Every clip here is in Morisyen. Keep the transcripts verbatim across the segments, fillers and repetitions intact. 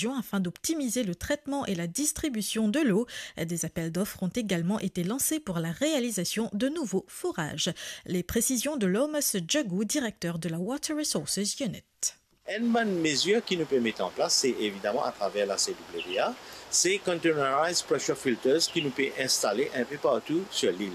afin d'optimiser le traitement et la distribution de l'eau. Des appels d'offres ont également été lancés pour la réalisation de nouveaux forages. Les précisions de Lomas Djagou, directeur de la Water Resources Unit. Enn bann mezir ki nou pe met an plas, se evidaman atraver la C W A, se containerized pressure filters ki nou pe instale enpe partou sir lil.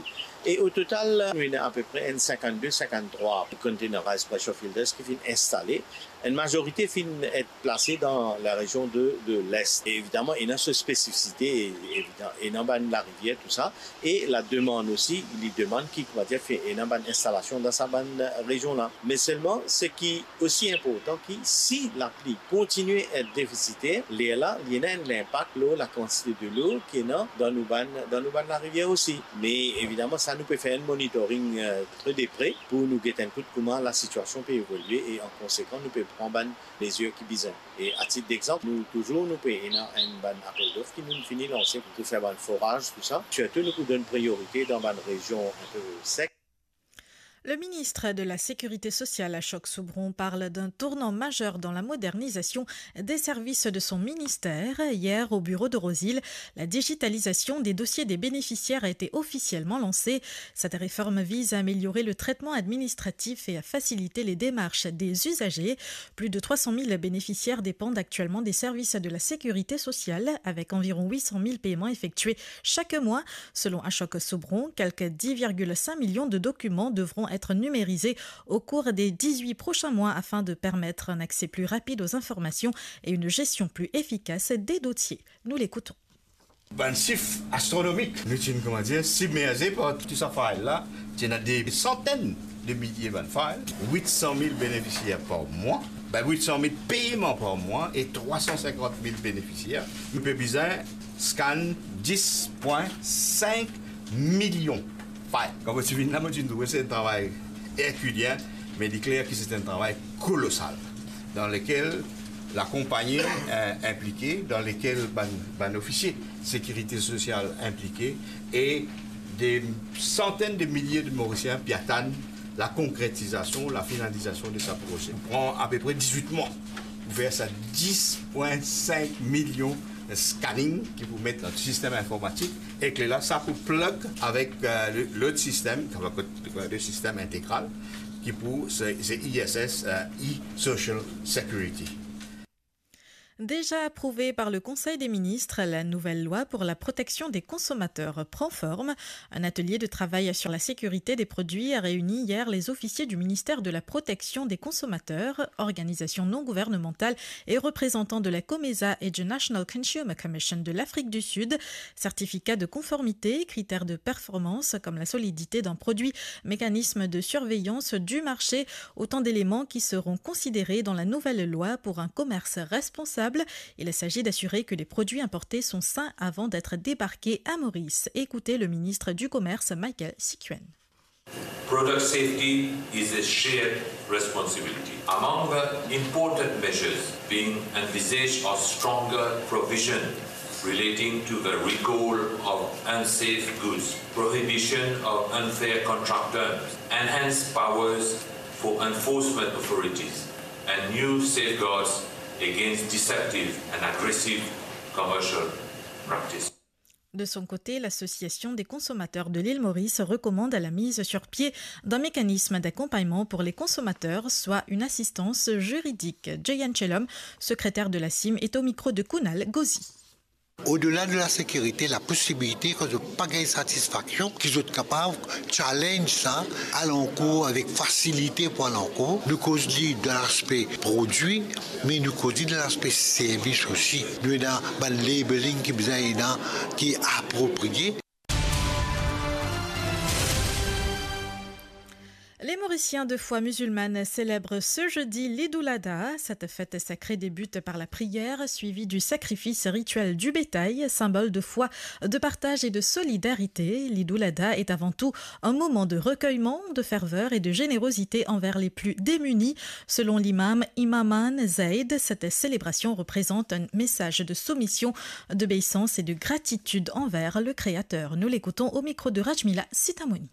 E o total, nou ena apepre enn sinkannde, sinkanntrwa containerized pressure filters ki finn instale. Enn mazorite finn et plase dan larezion de, de Lest. E evidaman, ena so spesifisite, evidan-, ena bann larivier, tou sa. E lademann osi, li demann ki, koumadir, fer ena bann instalasion dan sa bann rezion la. Me selman, seki osi inportan ki si lapli kontigne et defisiter, lerla, li ena enn linpak lor lakantite delo ki ena dan nou bann, dan nou bann larivier osi. Me evidaman, sa nou pe fer enn monitoring, eh, tre de pre pou nou get enn kout kouma lasitiasion pe evolie e an konsekan, nou pe pran bann mezir ki bizin. E atit dexanp, nou touzour, nou pe ena enn bann appel d'offres ki nou fini lanse pou fer bann foraz, tou sa. Sirtou, nou pou donn priorite dan bann rezion inpe sek. Le ministre de la Sécurité sociale, Ashok Soubron, parle d'un tournant majeur dans la modernisation des services de son ministère. Hier, au bureau de Rose-Hill, la digitalisation des dossiers des bénéficiaires a été officiellement lancée. Cette réforme vise à améliorer le traitement administratif et à faciliter les démarches des usagers. Plus de trois cent mille bénéficiaires dépendent actuellement des services de la sécurité sociale, avec environ huit cent mille paiements effectués chaque mois. Selon Ashok Soubron, quelques dix virgule cinq millions de documents devront être numérisés au cours des dix-huit prochains mois afin de permettre un accès plus rapide aux informations et une gestion plus efficace des dossiers. Nous l'écoutons. Bann sif astronomik. Nou ti, koumadir, sibmerze par tou sa file la. Ti ena de santenn de milie bann file, huit cent mille bénéficiaires par mois, ben, huit cent mille paiements par mois et trois cent cinquante mille bénéficiaires. Nou pe bizin scan dix point cinq millions file. Kan mo ti vinn la, mo ti trouve se enn travay erkilien, me li kler ki se enn travay kolosal, dan lekel lakonpagni, eh, inplike, dan lekel bann, bann ofisie sekirite sosial inplike, e de santenn de milie de Morisien pe atann lakonkretizasion, lafinalizasion de sa proze. Pran apepre dizwit mwa pou fer sa dix point cinq millions scanning ki pou met dan sistem informatik, e ki la, sa pou plug avek, eh, le, lot sistem, avek le sistem integral, ki pou, se, se I S S, eh, e-Social Security. Déjà approuvée par le Conseil des ministres, la nouvelle loi pour la protection des consommateurs prend forme. Un atelier de travail sur la sécurité des produits a réuni hier les officiers du ministère de la Protection des consommateurs, organisation non gouvernementale, et représentants de la COMESA et du National Consumer Commission de l'Afrique du Sud. Certificat de conformité, critères de performance comme la solidité d'un produit, mécanisme de surveillance du marché, autant d'éléments qui seront considérés dans la nouvelle loi pour un commerce responsable. Il s'agit d'assurer que les produits importés sont sains avant d'être débarqués à Maurice. Écoutez le ministre du Commerce, Michael Sikuen. Product safety is a shared responsibility. Among the important measures being envisaged are stronger provision relating to the recall of unsafe goods, prohibition of unfair contract terms, enhanced powers for enforcement authorities, and new safeguards against deceptive and aggressive commercial practice. De son côté, l'Association des consommateurs de l'île Maurice recommande la mise sur pied d'un mécanisme d'accompagnement pour les consommateurs, soit une assistance juridique. Jeyan Chelom, secrétaire de la CIM, est au micro de Kunal Ghosi. Odela de lasekirite, laposibilite kan zot pa gagn satisfaksion, ki zot kapav challenge sa, al ankour avek fasilite pou al ankour. Nou koz li dan laspe prodwi, me nou koz li dan laspe servis osi. Nou ena bann labeling ki bizin ena, ki apropriye. Les Mauriciens de foi musulmane célèbrent ce jeudi l'Eid ul-Adha. Cette fête sacrée débute par la prière, suivie du sacrifice rituel du bétail, symbole de foi, de partage et de solidarité. L'Eid ul-Adha est avant tout un moment de recueillement, de ferveur et de générosité envers les plus démunis. Selon l'imam Imaman Zaid, cette célébration représente un message de soumission, d'obéissance et de gratitude envers le Créateur. Nous l'écoutons au micro de Rajmila Sitamoni.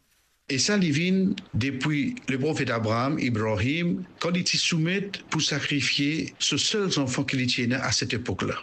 E sa li vinn depi leprofet Abraam, Ibrahim, kan li ti soumet pou sakrifie so sel zanfan ki li ti ena a set epok la.